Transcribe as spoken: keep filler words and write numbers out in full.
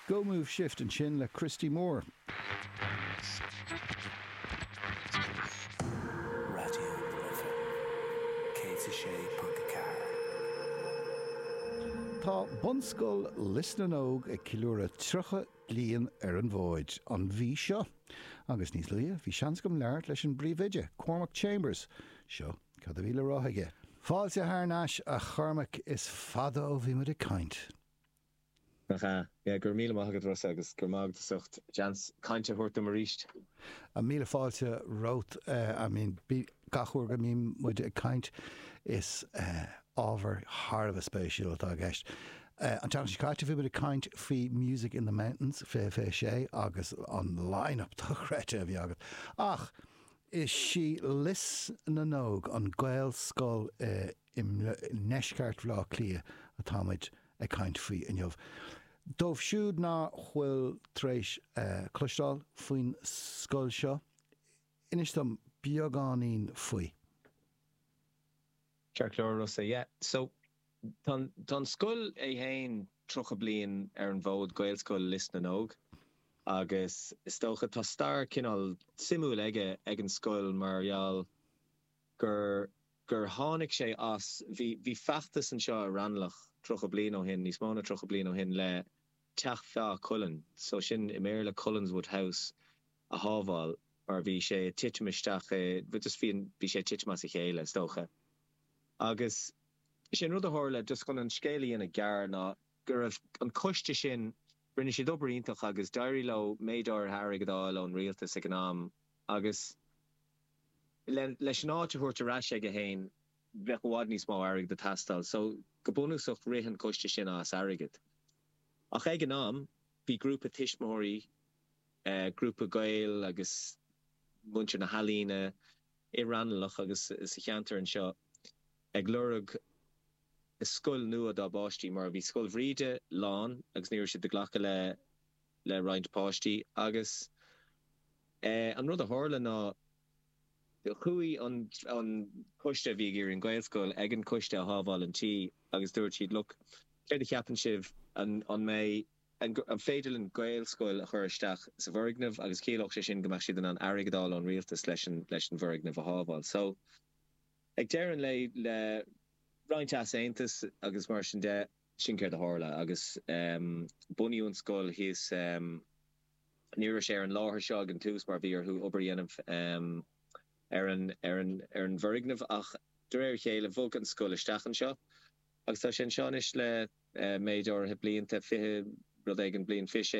Go Move Shift ansin le Christy Moore. Raidió na Life céad a sé ponc a ceathair. Tá Bunscoil Lios na nÓg ag ceiliúradh tríocha bliain ar an bhfód an mhí seo agus níos luaithe bhí seans agam labhairt leis an bpríomhoide, Cormac Chambers. Seo cad a bhí le rá aige. Fáilte thar n-ais a Chormaic, is fada ó bhí muid ag caint. Nach ea? Yeah, go raibh míle maith agat Rossa agus go raibh maith agat as ucht seans cainte a thabhairt dom arís. Míle fáilte romhat. I mean, gach uair go mbíonn muid ag caint is ábhar thar a bheith spéisiúil atá i gceist. An tseachtain seo caite bhí muid ag caint faoi Music in the Mountains fiche fiche sé agus an line-up dochreidte a bhí agat. Ach is í Lios na nÓg, an Gaelscoil i ndeisceart Bhaile Átha Cliath atá muid ag caint faoi inniu. Dóibh siúd nach bhfuil tar éis cloisteáil faoin scoil seo, inis dom beagáinín faoi. Ceart go leor Rossa, yeah. So tá an scoil é féin tríocha bliain ar an bhfód, Gaelscoil Lios na nÓg, agus is dócha tá stair cineál suimiúil aige ag an scoil mar gheall gur gur tháinig sé as, bhí bhí feachtas anseo i Raghnallach tríocha bliain ó shin, níos mó ná tríocha bliain ó shin le Teach Feá Cuilinn, so sin i mBéarla Cullenswood House, a shábháil mar bhí sé ag titim isteach i, just bhí bhí sé ag titim as a chéile is dócha. Agus sin rud a tharla, just chun an scéal a dhéanamh gearr, ná go raibh an coiste sin, rinne siad obair iontach agus d'éirigh leo méid áirithe airgid a fháil ón rialtas ag an am agus leis an áit a thabhairt ar ais aige féin bheadh i bhfad níos mó airgid ag teastáil. So go bunúsach rith an coiste sin as airgead. Ach ag an am bhí grúpa tuismitheoirí, grúpa Gael agus muintir na healaíne i Raghnallach agus sa cheantar anseo ag lorg scoil nua dá bpáistí mar bhí Scoil Bhríde lán agus ní raibh siad ag glacadh le le roinnt páistí agus an rud a tharla ná chuaigh an an coiste a bhí ag iarraidh an Ghaelscoil ag an coiste a shábháil an tí agus dúirt siad look céard a cheapann sibh an an mbeidh an an féidir linn Gaelscoil a chur isteach sa bhfoirgneamh agus chiallódh sé sin go mbeadh siad in ann airgead a fháil ón rialtas leis an leis an bhfoirgneamh a shábháil so ag deireadh an lae le roinnt easaontas agus mar sin de, sin céard a tharla agus bunaíodh an scoil thíos, ní raibh sé ar an láthair seo ag an tús mar bhí orthu obair a dhéanamh ar an ar an ar an bhfoirgneamh ach de réir a chéile bhog an scoil isteach anseo agus tá sé anseo anois le méid áirithe blianta, fiche rud éigin bliain, fiche sé